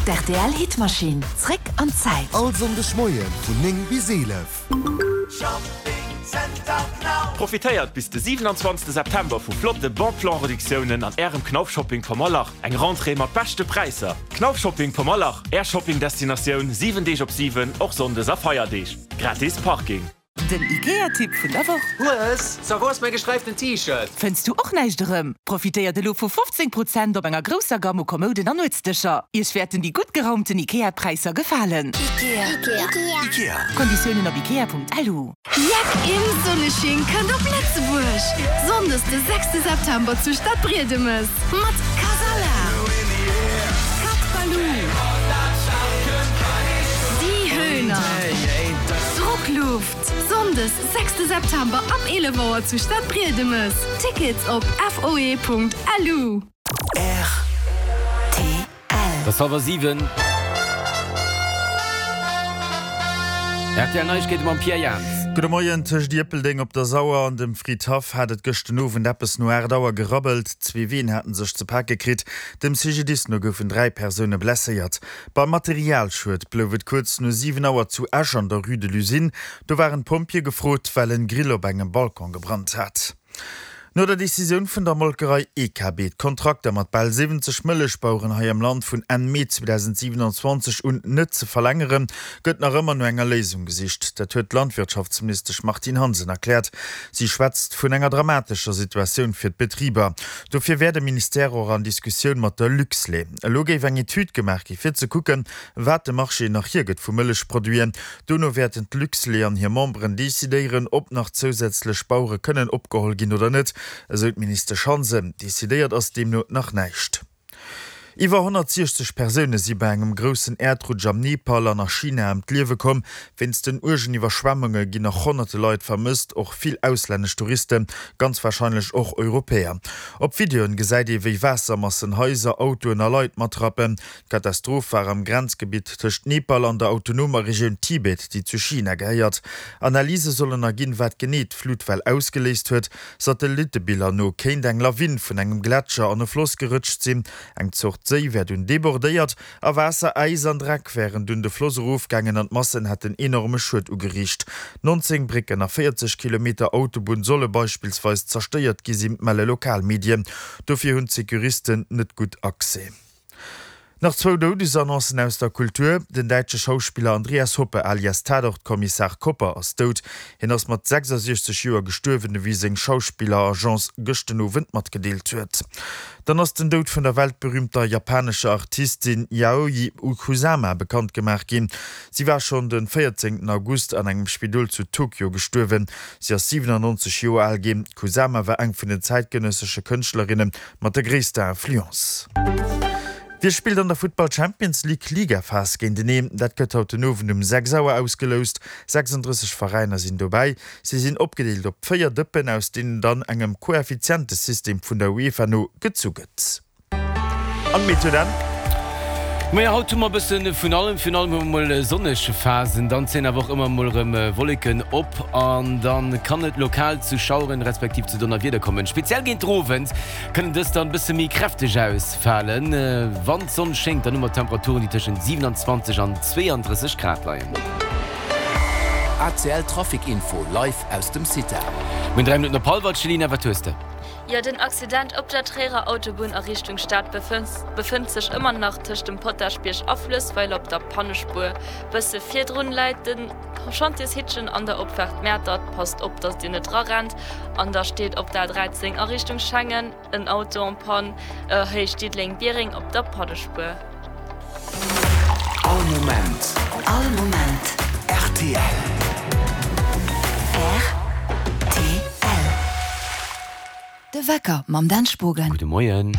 D'RTL Hitmaschinn, zréck an d'Zäit. All Sonndeg Moie vun 9 bis 11. Profitéiert bis de 27 September vu flotte Bon Plan Reduktiounen an Ärem Knauf Shopping Pommerlach. Eng Rentrée mat beschte Präisser. Knauf Shopping Pommerlach, Är Shopping Destinatioun 7 Deeg op 7, och Sonndes a Feierdeeg. Gratis Parking. Den Ikea-Tipp vun der Woch. Hues, so wou ass mäi gesträiften T-Shirt? Fënns du och näischt erëm? Profitéiert elo vu 15 Prozent op enger grousser Gamm u Kommouden an Nuetsdëscher. Iech wäerten déi gutt geraumten Ikea-Präisser gefalen. Ikea. Konditiounen op ikea.lu. Jeck im Sonnesching kënnt op Lëtzebuerg! Sonndes de sechste September zu Stadbriedemes mat Kasala, Cat Baloo, Die Höhner. Drockluft! Sonndes, 6 September ab 11 Auer zu Stadbriedemes. Tickets op foe.lu. Rtl. Et ass hallwer 7. Rtl Neiegkeete mam Pierre Jahns. Gudde Moien. Tëscht Ierpeldeng op der Sauer an dem Fridhaff hat et gëscht den Owend eppes no 8 Auer gerabbelt. Zwee Ween haten sech ze pake kritt. Dem CGDIS no goufen 3 Persoune blesséiert. Beim Materialschued blouf et kuerz no 7 Auer zu Esch an der Rue de l'Usine. Do waren d'Pompjeeë gefrot, well en Grill op engem Balcon gebrannt hat. No der Decisioun vun der Molkerei EKB, d'Kontrakter mat bal 70 Mëllechbaueren hei am Land vun Enn Mee 2027 un net ze verlängeren, gëtt nach ëmmer no enger Léisung gesicht. Dat huet d'Landwirtschaftsministesch Martine Hansen erkläert. Si schwätzt vun enger dramatescher Situatioun fir d'Betriber. Dofir wär de Ministère och an Diskussioun mat der Luxlait. Elo géif eng Etüd gemaach gi fir ze kucken, wat de Marché nach hiergëtt vu Mëllechproduiten. Dono wäerten d'Luxlait an hir Memberen decidéieren, ob nach zousätzlech Bauere kënnen opgeholl ginn oder net, esou d'Ministesch Hansen. Decidéiert ass deemno nach näischt. Iwwer 160 Persoune si bei engem groussen Äerdrutsch am Nepal an a China ëm d'Liewe komm. Wéinst den uergen Iwwerschwemmunge ginn nach honnerte Leit vermësst, och vill auslännesch Touristen, ganz warscheinlech och Europäer. Op Videoen gesäit ee wéi Waassermassen Haiser, Autoen a Leit matrappen. D'Katastroph war am Grenzgebitt tëscht Nepal an der autonomer Regioun Tibet, déi zu China gehéiert. Analyse sollen erginn, wat genee d'Flutwell ausgeléist huet. Satellittebiller no kéint eng Lawin vun engem Gletscher an e Floss gerëtscht sinn. Eng Zort Séi wär dunn debordéiert a Waasser, Äis an Dreck wären dunn de Floss erofgaangen an d'Massen hätten enorme Schued ugeriicht. 19 Brécken a 40 Kilometer Autobunn solle beispillsweis zerstéiert gi sinn, melle lokal Medien. Dofir hunn d'Securisten net gutt Accès. Nach zwou Doudesannoncen aus der Kultur, Den däitsche Schauspiller Andreas Hoppe alias Tatort-Kommissar Kopper ass dout. Hien ass mat 66 Joer gestuerwen, ewéi seng Schauspilleragence gëscht den Owend matgedeelt huet. Dann ass den Doud vun der weltberüümter japanescher Artistin Yayoi Kusama bekannt gemaach ginn. Si war schonn de 14 August an engem Spidol zu Tokio gestuerwen. Si ass 97 Joer al ginn. D'Kusama war eng vun den zäitgenëssesche Kënschtlerinne mat der gréisster Influence. Wie spillt an der Futtball Champions League Ligaphas géinteneen? Dat gëtt haut den Owend um 6 Auer ausgeloust. 36 Veräiner sinn dobäi. Si sinn opgedeelt op 4 Dëppen, aus deenen dann engem Koeffizientesystem vun der UEFA no gezu gëtt. An d'Meteo dann? Majo, haut hu mer e bësse vun allem. Virun allem hu mer mol sonneg Phasen, dann zéien awer och ëmmer mol erëm Wolleken op an da kann et lokal zu Schaueren respektiv zu Donnerwieder kommen. Speziell géint den Owend kënnen dës dann e bësse méi kräfteg ausfalen. Wann d'Sonn schéngt, dann hu mer Temperaturen, déi tëschent 27 an 32 Grad leien. ACL Trafic Info live aus dem CITA. Mir hunn 3 Minutten op hallwer. Céline, wat hues de? Jo, den Accident op der Tréierer Autobunn a Richtung Stad befënnt sech ëmmer nach tëscht dem Potaschbierg a Fluessweiler op der Pannespuer. Bësse virdrun läit de Chantiershittchen an der Opfaart Mäertert. Passt op, datt Dir net drarennt. An da steet op der A13 a Richtung Schengen en Auto en panne, Héicht Diddeleng-Biereng op der Pannespuer. All Moment. All Moment. Rtl. Rtl. De Wecker mam Dan Spogen. Gudde Moien.